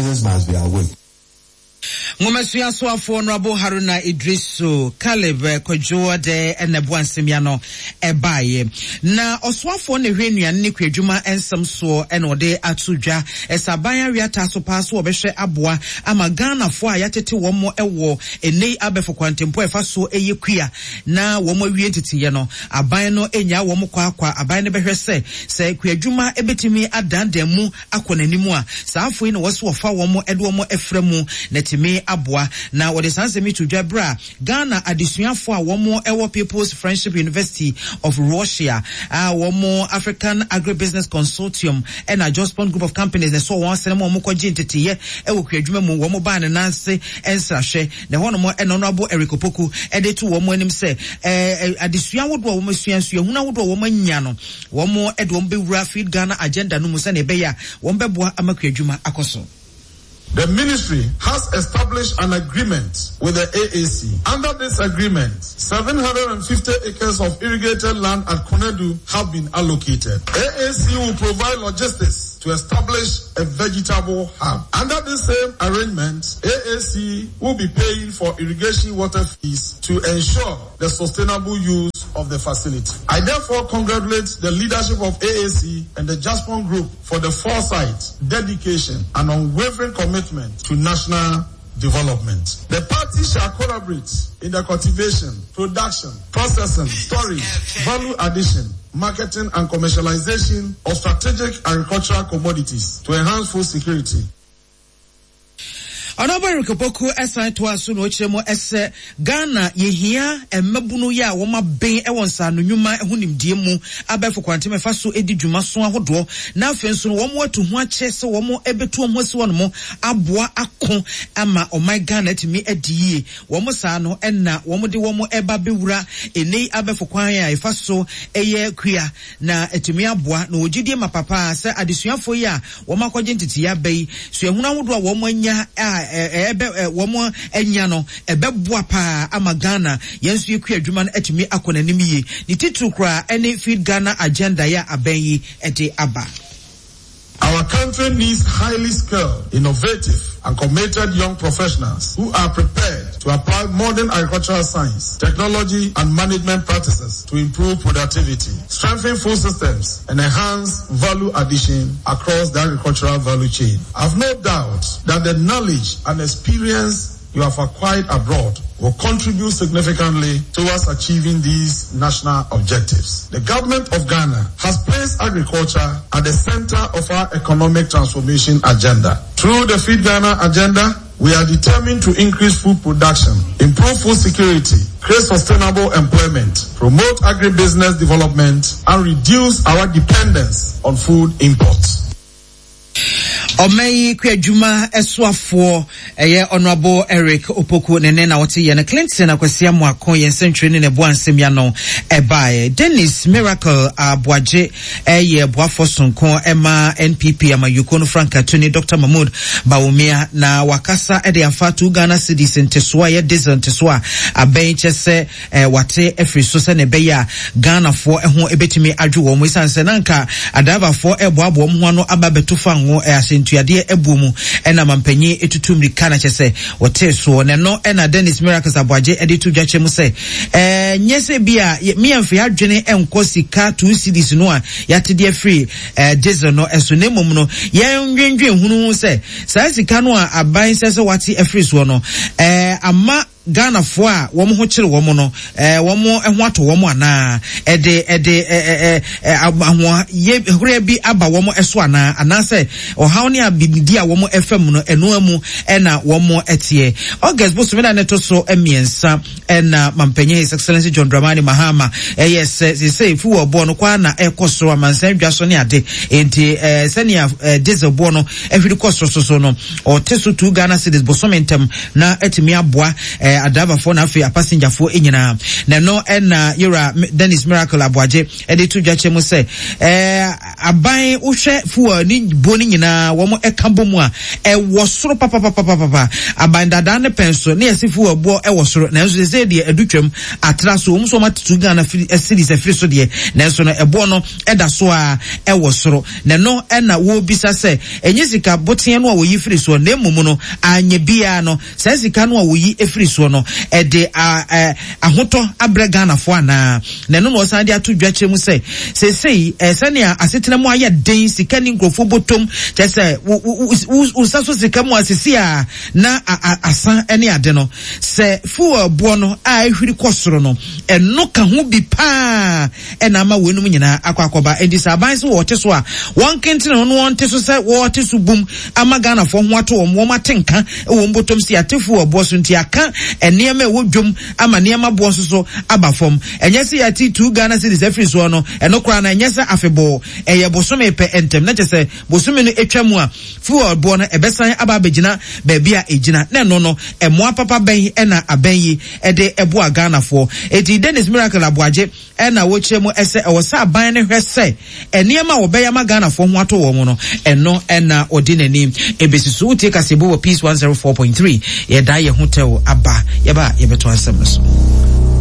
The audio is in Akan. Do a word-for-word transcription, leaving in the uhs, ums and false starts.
Must be awake. Nwomasua soafoɔ Honorable Haruna Idrisu Caleb Kwadwo de ɛna ɛboa nsɛm no ɛbaeɛ. Na ɔsoafoɔ na ɛhwɛ nnuane ne kuadwuma nsɛm soɔ ɛna ɔde ato dwa ɛsɛ aban awiata so paa so wɔbɛhwɛ aboa ama Ghanafoɔ a yɛatete wɔn ɛwɔ ɛnɛ abɛfo kwantempɔ ɛfa so ɛyɛ kua na wɔn awie nteteyɛ no, aban no enya wɔn kɔ akwa. Aban no bɛhwɛ sɛ sɛ kuadwuma ɛbɛtumi adandan mu akɔ n'anim a, saa afo yi na wɔso wɔfa wɔn ɛde wɔn ɛfrɛ mu na tumi aboa. Na wɔde saa nsɛm yi to dwa berɛ a Ghana adesuafoɔ a wɔn ɛwɔ People's Friendship University of Russia a wɔn African Agribusiness Consortium ɛna Jospong Group of Companies na ɛsɔ wɔn asɛm mu a wɔn kɔgye nteteyɛ ɛwɔ kuadwuma mu, wɔn baa ne nan ase nsrahwɛ na ɛhɔnom ɛna Honorable Eric Opoku ɛde to wɔn anim sɛ ɛɛ adesua ahodoɔ a wɔn asua, nsuahunu ahodoɔ a wɔn anya no, wɔn ɛde wɔn bɛwura Feed Ghana agenda no mu sɛnea ɛbɛyɛ a wɔn bɛboa ama kuadwuma akɔ so. The ministry has established an agreement with the A A C. Under this agreement, seven hundred fifty acres of irrigated land at Konedu have been allocated. A A C will provide logistics to establish a vegetable hub. Under this same arrangement, A A C will be paying for irrigation water fees to ensure the sustainable use of the facility. I therefore congratulate the leadership of A A C and the Jospong Group for the foresight, dedication, and unwavering commitment to national development. The parties shall collaborate in the cultivation, production, processing, storage, value addition, marketing and commercialization of strategic agricultural commodities to enhance food security. Honorable Eric Opoku ɛsan toa so na ɔkyerɛ mu ɛsɛ Ghana yɛhia mmabunu yi a wɔn abɛn ɛwɔ nsaano nnwuma ho nimdeɛ mu, abɛɛfo kwantɛm ɛfa so edi dwuma so ahodoɔ, na afei nso no wɔn atu ho akyɛ sɛ wɔn ɛbɛtu wɔn ho asi wɔn mo aboa ako ama ɔman Ghana atumi adi yie. Wɔn saa no ɛna wɔn de wɔn ɛba bɛwura ɛnɛ abɛɛfo kwan a ɛfa so ɛyɛ kua na atumi aboa. Na wɔgyidie ma papa sɛ adesuafoɔ yi a wɔn akɔgye nteteyɛ aba yi, suahunu ahodoɔ a wɔn anya a ɛbɛ wɔn anya no ɛbɛboa paa ama Ghana yɛn nso yɛkua adwuma no atumi akɔ n'anim yie, ne titiri koraa ɛne Feed Ghana agenda yɛ abɛn yi ɛde aba. Our country needs highly skilled, innovative, and committed young professionals who are prepared to apply modern agricultural science, technology, and management practices to improve productivity, strengthen food systems, and enhance value addition across the agricultural value chain. I've no doubt that the knowledge and experience you have acquired abroad will contribute significantly towards achieving these national objectives. The government of Ghana has placed agriculture at the center of our economic transformation agenda. Through the Feed Ghana agenda, we are determined to increase food production, improve food security, create sustainable employment, promote agribusiness development, and reduce our dependence on food imports. Ɔman yi kua adwuma ɛsoafoɔ ɛyɛ Honorable Eric Opoku ne ne na wɔte yɛ no. Clinton Akwasi Amoako yɛn nsɛntwerɛ ne n'ɛboa nsɛm ya no ɛbaeɛ. Dennis Miracle Aboagye ɛyɛ boafoɔ sonko ɛma N P P amayuko no frankatoni Doctor Mahmood Bawumia na wakasa ɛde afa two Ghana cedis ntesoɔ a ɛyɛ diesel ntesoɔ a abɛn kyɛ sɛ ɛɛ wate afiri so sɛ ne ɛbɛyɛ a Ghanafoɔ ɛho ɛbɛtumi adwo wɔn, esiane sɛ nanka adraivafoɔ ɛboaboa wɔn ho ano aba abɛto fa ngo ɛ ahyɛntuadeɛ ɛbuo mu, ɛna mampanyin etutu mmirika na kyɛ sɛ wɔtee soɔ. Na ɛno ɛna Dennis Miracles Aboagye ɛde to dwa kyerɛ mu sɛ ɛɛ nyɛ sɛ bi a mmea adwene ɛnkɔ sika two cedis no a yɛate de afiri ɛɛ diesel no ɛso, na mmom no yɛn nwendwen hunu sɛ saa sika no a aban sɛ sɛ wate afiri soɔ no ɛɛ ama Ghanafoɔ a wɔn ho kyerɛ wɔn no ɛɛ wɔn ho ato wɔn anaa ɛde ɛde ɛɛ ɛɛ ahoa hore bi aba wɔn so anaa, anaasɛ ɔhaw ne abididi a wɔn ɛfɛ mu no ɛnoa mu ɛna wɔn ɛteɛ. August bosome na ne to so mmiɛnsa ɛna mampanyin His Excellency John Dramani Mahama ɛyɛ sɛ sese fuel boɔ no kwaa na ɛkɔ soro amansan dwa so ne ade, nti ɛɛ sɛnea ɛɛ diesel boɔ no ɛhwiri kɔ soro so so no, ɔte so two Ghana cedis bosome ntɛm na ɛtumi aboa ɛɛ eh, adraivafoɔ na afei apasenjafoɔ nyinaa. Na ɛno ɛna yɛwura Dennis Miracle Aboagye ɛde to dwa kyerɛ mu sɛ eh, aban wohwɛ fuel ne buo no nyinaa wɔn ɛka bɔ mu a, ɛwɔ soro papapapapapa. Aban dadaa ne pɛn so ne yɛsi fuel boɔ ɛwɔ soro, nanso sɛ deɛ ɛdu twam atra so wɔn nso wɔn atutu Ghana cedis afiri so deɛ, nanso no ɛboɔ no ɛda so a ɛwɔ soro. Na ɛno ɛna wɔrebisa sɛ ɛnyɛ sika boteɛ no a wɔyi firi soɔ, na mmom no anyɛ biara no saa sika no a wɔyi firi soɔ no ɛde ahotɔ abrɛ Ghanafoɔ anaa. Na ɛno na ɔsan de ato dwa kyerɛ mu sɛ seesei sɛnea asetena mu ayɛ den, sika ni nkurɔfoɔ bɔtɔm, kyerɛ sɛ wo nsa so sika mu asesi a na asa ne ade no, sɛ fuel boɔ no a ɛhwiri kɔ soro no, ɛno ka ho bi paa ɛna ama wɔnum nyinaa akɔ akɔba. Enti sɛ aban sɛ wɔte so a, wɔn kentene no wɔn te so sɛ wɔte so bum ama Ghanafoɔ ho ato wɔn, wɔn ate nka wɔn bɔtɔm si ate fuel boɔ so, nti aka nneɛma ɛwɔ dwom ama nneɛma boɔ nso so aba fam. Ɛnyɛ sɛ yɛate two Ghana cedis afiri soɔ no, ɛno koraa no ɛnyɛ sɛ afebɔɔ, ɛyɛ bosome pɛ ntɛm, na kyerɛ sɛ bosome no atwa mu a fuel boɔ no ɛbɛsan aba abɛgyina baabi a ɛgyina. Na ɛno no ɛmoa papa bɛn ɛna abɛn yi ɛde ɛboa Ghanafoɔ? Eti Dennis Miracle Aboagye ɛna wɔkyerɛ mu ɛsɛ ɛwɔ sɛ aban no hwɛ sɛ nneɛma a wɔbɛyɛ ama Ghanafoɔ ho ato wɔn no, ɛno ɛna ɔde n'anim ebesi so. Wotie kasebo wɔ Peace one zero four point three. Yɛda yɛn ho tɛw aba, yɛba yɛbɛto asɛm no so.